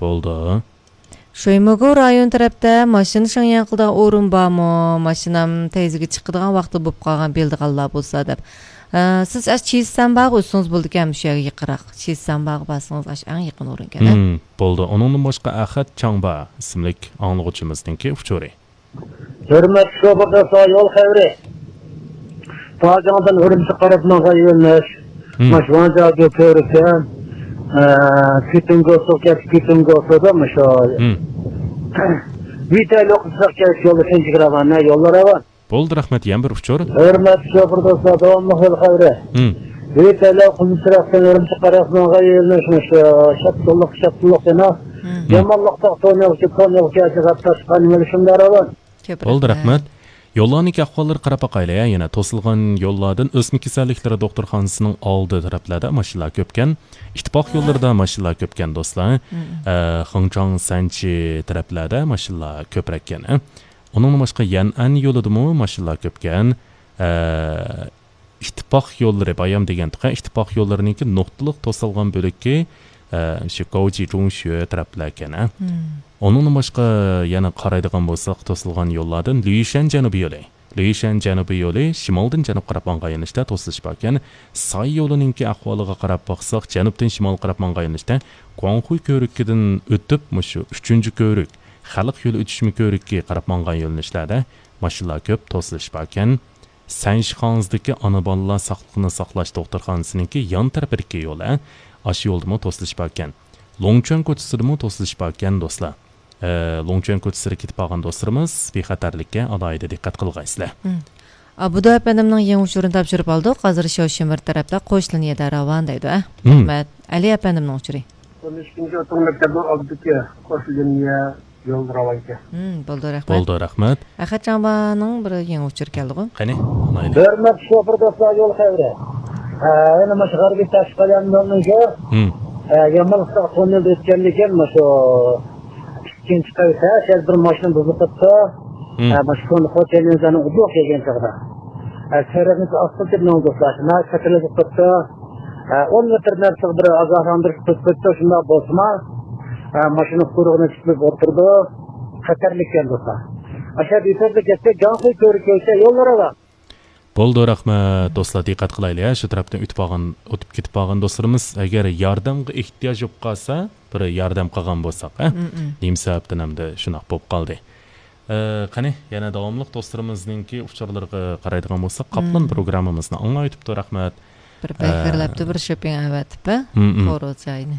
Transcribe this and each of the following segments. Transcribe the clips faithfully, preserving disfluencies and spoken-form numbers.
بولدى. شۇيمۇگۇ رايون تەرەپتە ماشىنا شاڭياڭ قىلىدىغان ئورۇن بارمۇ؟ ماشىنام تەيزىگە چىقىدىغان ۋاقتى بولۇپ قالغان، بىلىدىغانلار بولسا دەپ. ئە، سىز ئاشۇ چىسەنباغا ئۆتسىڭىز بولىدىكەن، مۇشۇ يەرگە يېقىنراق. چىسەنباغا بارسىڭىز ئاشۇ ئەڭ يېقىن ئورۇنكەن، ھە؟ ھىم، بولدى. ئۇنىڭدىن باشقا ئەخەت چاڭبا ئىسىملىك ئاڭلىغۇچىمىزنىڭكى ئۇچۇرى. ھۆرمەتلىك شوپۇر دوستلار، يول خەۋىرى. تاجاڭدىن ئۈرۈمچىگە قاراپ ماڭغان يۆنىلىش. ھىم. ماش ۋاڭجاگۆ كۆۋرۈكتىن، ئە، كۈتۈڭگوسىغا كەچ، كۈتۈڭگوسىدا مۇشۇ. ھىم. ۋىتەي لوقىسىغا كەچ يولدا تىنچىك راۋان، يوللار راۋان. بولدى، رەھمەت. يەنە بىر ئۇچۇر. ھۆرمەتلىك شوپۇر دوستلار، داۋاملىق يول خەۋىرى. ھىم. ۋىتەي لوقىسى تەرەپتىن ئۈرۈمچىگە قاراپ ماڭغان يۆنىلىش مۇشۇ شاپتۇللۇق، شاپتۇللۇق دېنا. ھىم. يامانلىقتا تونېلغا، تونېلغا كەچ قاتناشقان يۆنىلىشىم راۋان. كۆپ كۆپ رەھمەت. رەھمەت. يوللارنىڭكى ئەھۋاللىرىغا قاراپ باقايلى، ھە، يەنە توسۇلغان يوللاردىن ئۆسمە كېسەللىكلىرى دوختۇرخانىسىنىڭ ئالدى تەرەپلەردە ماشىنىلار كۆپكەن، ئىتتىپاق يوللىرىدا ماشىنىلار كۆپكەن دوستلار. مم. ئە، خېڭچاڭ سەنچى تەرەپلەردە ماشىنىلار كۆپرەككەن، ھە. ئۇنىڭدىن باشقا يەنئەن يولىدىمۇ ماشىنىلار كۆپكەن. ئە، ئىتتىپاق يوللىرى، بايام دېگەنتۇق، ئىتتىپاق يوللىرىنىڭكى نۇقتىلىق توسالغان بۆلىكى، ئە، شۇ گاۋجى جۇڭشۈ تەرەپلەركەن، ھە. مم. ئۇنىڭدىن باشقا يەنە قارايدىغان بولساق، توسۇلغان يوللاردىن لۈيشەن جەنۇبىي يولى، لۈيشەن جەنۇبىي يولى شىمالدىن جەنۇبقا قاراپ ماڭغان يۆنىلىشتە توسۇلۇش باركەن. ساي يولىنىڭكى ئەھۋالىغا قاراپ باقساق، جەنۇبتىن شىمالغا قاراپ ماڭغان يۆنىلىشتە گۇاڭخۇي كۆۋرۈكىدىن ئۆتۈپ، مۇشۇ ئۈچىنچى كۆۋرۈك، خەلق يولى ئۆتۈشمە كۆۋرۈكى قاراپ ماڭغان يۆنىلىشلەردە ماشىنىلار كۆپ، توسۇلۇش باركەن. سەنشىخاڭزىدىكى ئانا بالىلار ساقلىقىنى ساقلاش دوختۇرخانىسىنىڭكى يان تەرىپىدىكى يول، ھە، ئاشۇ يولدىمۇ توسۇلۇش باركەن. لوڭچۈەن كوچىسىدىمۇ توسۇلۇش باركەن، دوستلار. ئە، لوڭچۈەن كوچىسىدا كېتىپ قالغان دوستلىرىمىز بىخەتەرلىككە ئالاھىدە دىققەت قىلغايسىلەر. مم. ئابدۇ ئەپەندىمنىڭ يېڭى ئۇچۇرىنى تاپشۇرۇپ ئالدۇق. ھازىر شياۋشىمىر تەرەپتە قوش لىنىيەدە راۋان دەيدۇ، ھە؟ مم. رەھمەت. ئەلى ئەپەندىمنىڭ ئۇچۇرى. ئون ئۈچىنچى ئوتتۇرا مەكتەپنىڭ ئالدىدىكى قوش لىنىيە يول راۋانكەن. مم، بولدى، رەھمەت. بولدى، رەھمەت. ئەخەت چاڭبانىڭ بىر يېڭى ئۇچۇرى كەلدىغۇ. قېنى، ئاڭلايلى. ھۆرمەتلىك شوپۇر دوستلار، يول خەۋىرى. ھە، يەنە مۇشۇ غەربىي تاشقى قەلەم يولىنىڭكى، ھىم. ھە، يامانلىقتا توننېلدا ئۆتكەندىن كېيىن مۇشۇ ئىككىنچى قەۋەتتە شەل بىر ماشىنا بۇزۇلۇپ قاپتۇ. ھىم. ھە، مۇشۇ كونا خوتەن يېزىنىڭ ئۇدۇق كەلگەن چېغىدا. ھە، سېرىقنىڭكى ئاسفالت دېدى ماڭا دوستلار. ناھايىتى خەتەرلىك بولۇپ قاپتۇ. ھە، ئون مېتىر نەرسىگە بىر ئاگاھلاندۇرۇش قىلىپ قويۇپتۇ. شۇنداق بولسىمۇ، ھە، ماشىنا قۇرۇقىنى تۇتۇپ ئولتۇرىدۇ. خەتەرلىككەن دوستلار. ئاشۇ يەردە يېتەرلىك كەتسە، گاڭخۇي كۆۋرۈكى كۆرسە يوللار ئاۋام. بولدى، رەھمەت. دوستلار، دىققەت قىلايلى، ھە، شۇ تەرەپتىن ئۆتۈپ بارغان، ئۆتۈپ كېتىپ بارغان دوستلىرىمىز، ئەگەر ياردەمگە ئېھتىياج بولۇپ قالسا، بىر ياردەم قىلغان بولساق، ھە؟ مم، مم. نېمە سەۋەبتىن ئەمدى شۇنداق بولۇپ قالدى؟ ئە، قېنى، يەنە داۋاملىق دوستلىرىمىزنىڭكى ئۇچۇرلىرىغا قارايدىغان بولساق، قاپلان مم. پروگراممىمىزنى ئاڭلاۋېتىپتۇ، رەھمەت. بىر ئە، بەكرىلەپتۇ، بىر شوپىڭ ئەۋەتىپ، ھە؟ مم، مم. خورۇز جايىنى.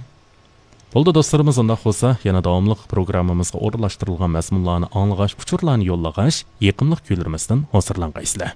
بولدى، دوستلىرىمىز، ئۇنداق بولسا، يەنە داۋاملىق پروگراممىمىزغا ئورۇنلاشتۇرۇلغان مەزمۇنلارنى ئاڭلىغاچ، ئۇچۇرلارنى يوللىغاچ، يېقىملىق كۈنلىرىمىزدىن ھۇزۇرلانغايسىلەر.